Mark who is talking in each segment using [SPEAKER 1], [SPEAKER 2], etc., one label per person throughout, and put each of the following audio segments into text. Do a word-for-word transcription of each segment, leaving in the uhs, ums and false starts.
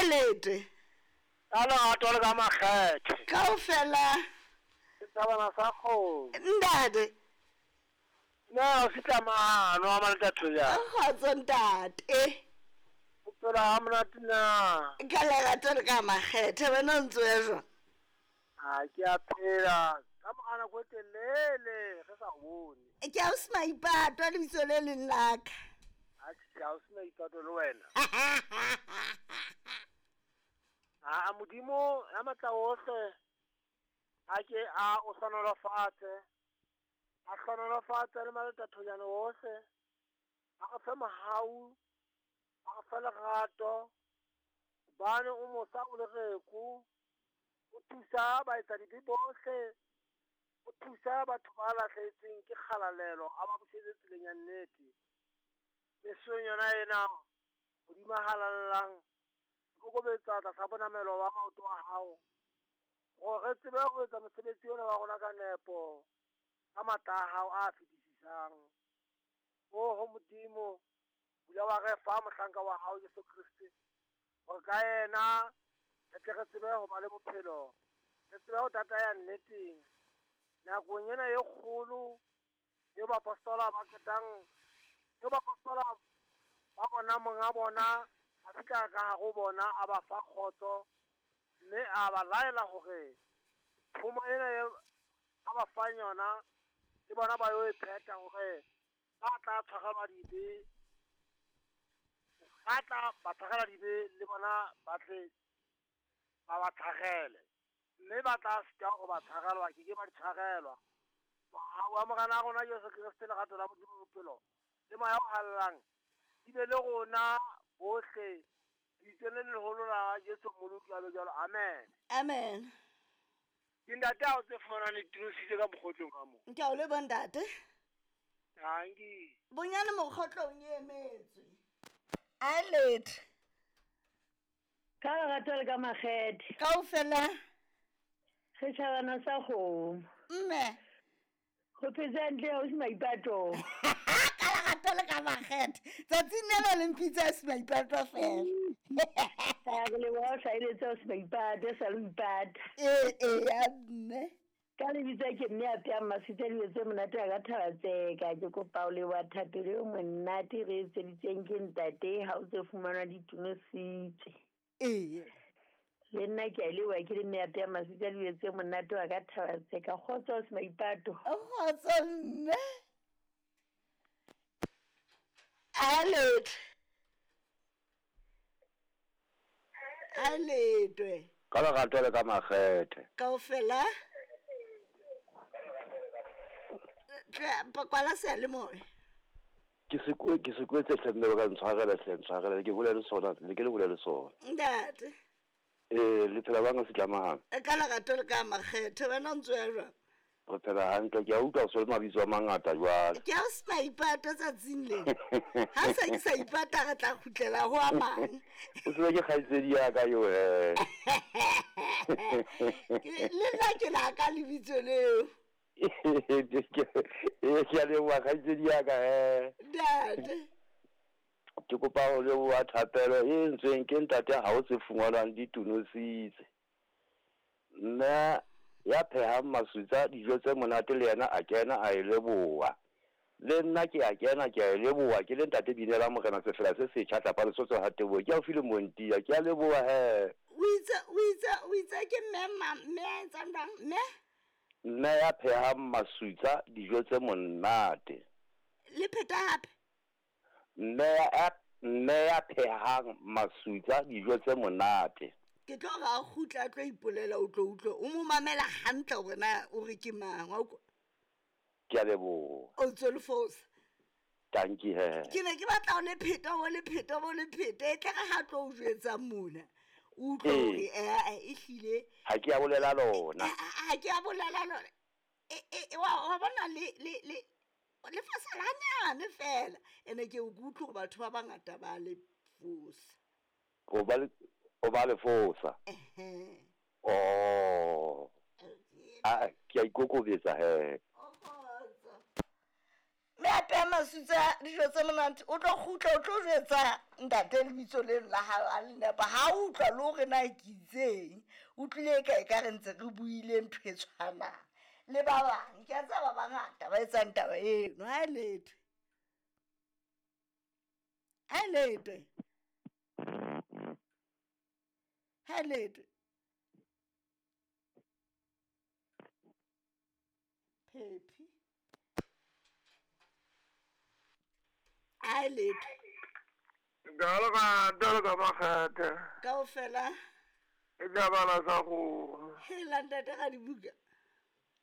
[SPEAKER 1] A lete.
[SPEAKER 2] Ka lerato le ka makgethe.
[SPEAKER 1] Kaofela.
[SPEAKER 2] Setjhabana sa kgomo.
[SPEAKER 1] Ntate.
[SPEAKER 2] Na o fihla mano a maleta thoja.
[SPEAKER 1] Kgotso ntate.
[SPEAKER 2] O phela ha monate na?
[SPEAKER 1] Ka lerato le ka makgethe wena o ntso ya jwang?
[SPEAKER 2] Ha ke a phela. Ka mora nako e telele re sa o bone.
[SPEAKER 1] Ke a o se maipato lebitso le leng la ka.
[SPEAKER 2] Atjhe, ha o se maipato le wena. A Modimo ya matla ohle a ke a o hlohonolofatse, a hlohonolofatse le maletathonyane ohle, a re fe mohau, a re fe lerato, hobane o mosa o lereko, o thusa baetsadibe bohle, o thusa batho ba lahlehetsweng ke kgalalelo, a ba busetse tseleng ya nnete. Mesong yona ena, Modimo a halalelang, kokobetsa tlasa bonamelo ba maoto a hao, hore re tsebe ho etsa mosebetsi ona wa rona ka nepo, ka matla a hao a fetisisang. Oho Modimo, bula wa re fa mohlanka wa hao Jesu Kreste, hore ka yena re tle re tsebe ho ba le bophelo, re tsebe ho tataya nneteng. Nakong ena e kgolo eo baapostola ba qetang, eo baapostola ba bona monga bona a fihla ka hare ho bona, a ba fa kgotso, mme a ba laela hore thomo ena e a ba fang yona le bona ba yo e phetha, hore ba tla tshwarelwa dibe, ba tla ba tshwarelwa dibe le bona ba tle ba ba tshwarele, mme ba tla sitwa ho ba tshwarelwa, ke ke ba di tshwarelwa. Mohau wa Morena wa rona Jesu Kreste, lerato la Modimo bophelo le moya o halalelang di be le rona bohle, lebitsong le leholo la Jesu Mmoloki a be jwalo. Amen.
[SPEAKER 1] Amen.
[SPEAKER 2] Ke ntate ha o tse fumanang le tinositse ka mokgotlong ka moo.
[SPEAKER 1] Ke a o leboha ntate.
[SPEAKER 2] Tanki.
[SPEAKER 1] Bonyane mokgotlong e emetswe. A lete.
[SPEAKER 3] Ka lerato le ka makgethe.
[SPEAKER 1] Kaofela.
[SPEAKER 3] Setjhabana sa kgomo.
[SPEAKER 1] Mme.
[SPEAKER 3] Ho phetse hantle ha o se maipato.
[SPEAKER 1] Ka lerato le ka makgethe. Tsatsing lena le mpitsa se maipato fela.
[SPEAKER 3] Ha re leboha o hlahelletse o se maipato, sa le ipata.
[SPEAKER 1] Ee, ee, ya mme.
[SPEAKER 3] Ka lebitso ke mme a pheang maswitse dijo tse monate a ka thaba tseka. Ke kopa ho leboha thapelo e monate re etseditseng ke ntate ha o tse fumanwa ditunositse.
[SPEAKER 1] Ee.
[SPEAKER 3] Le nna ke a leboha ke le mme a pheang maswitse dijo tse monate wa ka thaba tseka. Kgotso o se maipato.
[SPEAKER 1] Kgotso mme. A lete. A letwe.
[SPEAKER 4] Ka lerato le ka makgethe.
[SPEAKER 1] Kaofela. Kwala seyalemoya.
[SPEAKER 4] Ke se kwe, ke se kwetse hle mme ba ka ntshwarela hle, ntshwarela ke bole le sona, le ke le bole le sona.
[SPEAKER 1] Ntate.
[SPEAKER 4] Eh, le phela bang se tlamahang.
[SPEAKER 1] Ka lerato le ka makgethe wena o ntso ya jwang?
[SPEAKER 4] Re phela hantle, ke a utlwa o so le mabitso a mangata jwale.
[SPEAKER 1] Ke a o se maipato tsatsing le. Ha se ke sa ipata re tla kgutlela ho a mang.
[SPEAKER 4] O tsebe ke kgaitsedi ya ka eo he.
[SPEAKER 1] Le nna ke la ka lebitso leo.
[SPEAKER 4] Ee, ke a leboha kgaitsedi ya ka he.
[SPEAKER 1] Ntate.
[SPEAKER 4] Ke kopa ho leboha thapelo e entsweng ke ntate ha o se fungwanwang ditunositse. Mme ya phehang masutsa dijo tse monate le yena a kena a e leboha. Le nna ke a kena ke a e leboha, ke le ntate Binela Morena sefela se setjha tlapa Lesotho ha Teboho. Ke haufi le Montia, ke a leboha he.
[SPEAKER 1] O itse, o itse, o itse ke mme ma, mme a etsang jwang? Mme?
[SPEAKER 4] Mme ya phehang masutsa dijo tse monate.
[SPEAKER 1] Le pheta hape?
[SPEAKER 4] Mme ya, mme ya phehang masutsa dijo tse monate.
[SPEAKER 1] Ke tlo re a kgutla a tlo ipolela, o tlo utlwe. O mo mamela hantle hore na o re ke mang, wa utlwa?
[SPEAKER 4] Ke a leboha.
[SPEAKER 1] O ntso le fosa.
[SPEAKER 4] Tanki he.
[SPEAKER 1] Ke ne ke batla ho le pheta, ho le pheta, ho le pheta. E tle re ha tlo o jwetsa mona. O utlwe hore, eh, eh, ehlile.
[SPEAKER 4] Ha ke a bolela lona.
[SPEAKER 1] Ha ke a bolela lona. E, e, wa, wa bona le, le, le, le fosa la hanyane fela. Ene ke o utlwe hore batho ba bangata ba le fosa.
[SPEAKER 4] O ba le, o ba le fosa.
[SPEAKER 1] Ehe.
[SPEAKER 4] Oh. Ah, ke a ikokobetsa he.
[SPEAKER 1] O kgotso. Mme a peha masutsa dijo tse monate o tlo kgutla o tlo jwetsa ntate lebitso leno la hao a le nepa ha o utlwa le hore na ke itseng o tlile e ka e ka re ntse re buile ntho e tshwanang le ba bang ke a tseba ba bangata ba etsang taba eno ha e letwe ha e letwe ha e letwe phephi ha e letwe
[SPEAKER 2] Ka le ka makgethe
[SPEAKER 1] kaofela
[SPEAKER 2] e tla bala sa go
[SPEAKER 1] hela ntate ga dibuka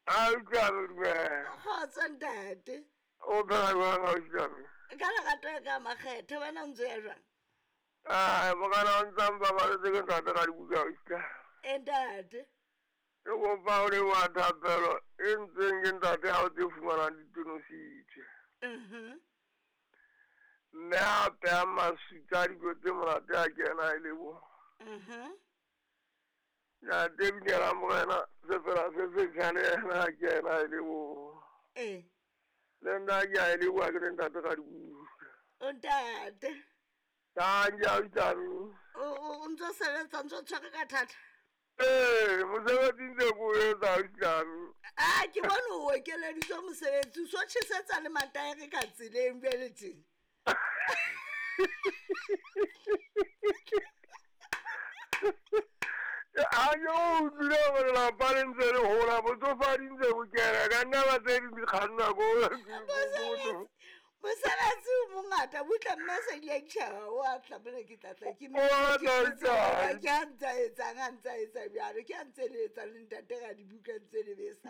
[SPEAKER 2] a utlwane dumela
[SPEAKER 1] kgotsa ntate
[SPEAKER 2] o phela jwang a utlwane
[SPEAKER 1] ka lerato ya ka makgethe wena o ntse ya jwang
[SPEAKER 2] ai mokana o ntsang babaletse ke ntate ga dibuka utlwa
[SPEAKER 1] e ntate
[SPEAKER 2] ke kopa o leboha thapelo e ntseng ke ntate ha o tse fumanang ditonositswe
[SPEAKER 1] Mhm.
[SPEAKER 2] mme a peha masutsa dijo tse monate a kena e leboha
[SPEAKER 1] Mhm.
[SPEAKER 2] ntate binela morena se fela se setjha le yena a kena e leboha
[SPEAKER 1] ee
[SPEAKER 2] le nna ke a e leboha ke le ntate ga dibuka
[SPEAKER 1] o ntate
[SPEAKER 2] thank you autlwane
[SPEAKER 1] o o- o ntse o sebetsa o ntse o tshwere ka thata
[SPEAKER 2] ee mosebetsi ntse ko o etsa autlwane
[SPEAKER 1] a ke bone o okeleditswe mosebetsi o so tjhesetsa le mataere ka tseleng bjale teng
[SPEAKER 2] ha ke o utlwile gore lelapa le ntse le hola botsofadi ntse bo kena ka nna ba tse ding di kgannwa ko
[SPEAKER 1] mosebetsi mosebetsi o mongata butle mme se ile ditjhaba o a tlamele ke tlatla ke
[SPEAKER 2] O a tla
[SPEAKER 1] ke
[SPEAKER 2] etsa.
[SPEAKER 1] a ntse a etsang a ntse a etsa bjalo ke a ntse le etsang le ntate ga dibuka ntse le besa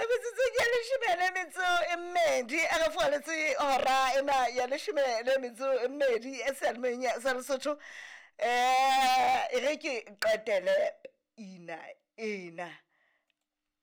[SPEAKER 1] Re metsotsong ya leshome le metso e mmedi a re foaletse hora ena ya leshome le metso e mmedi e seyalemoyeng ya sa Lesotho um e re ke qetele ina ena.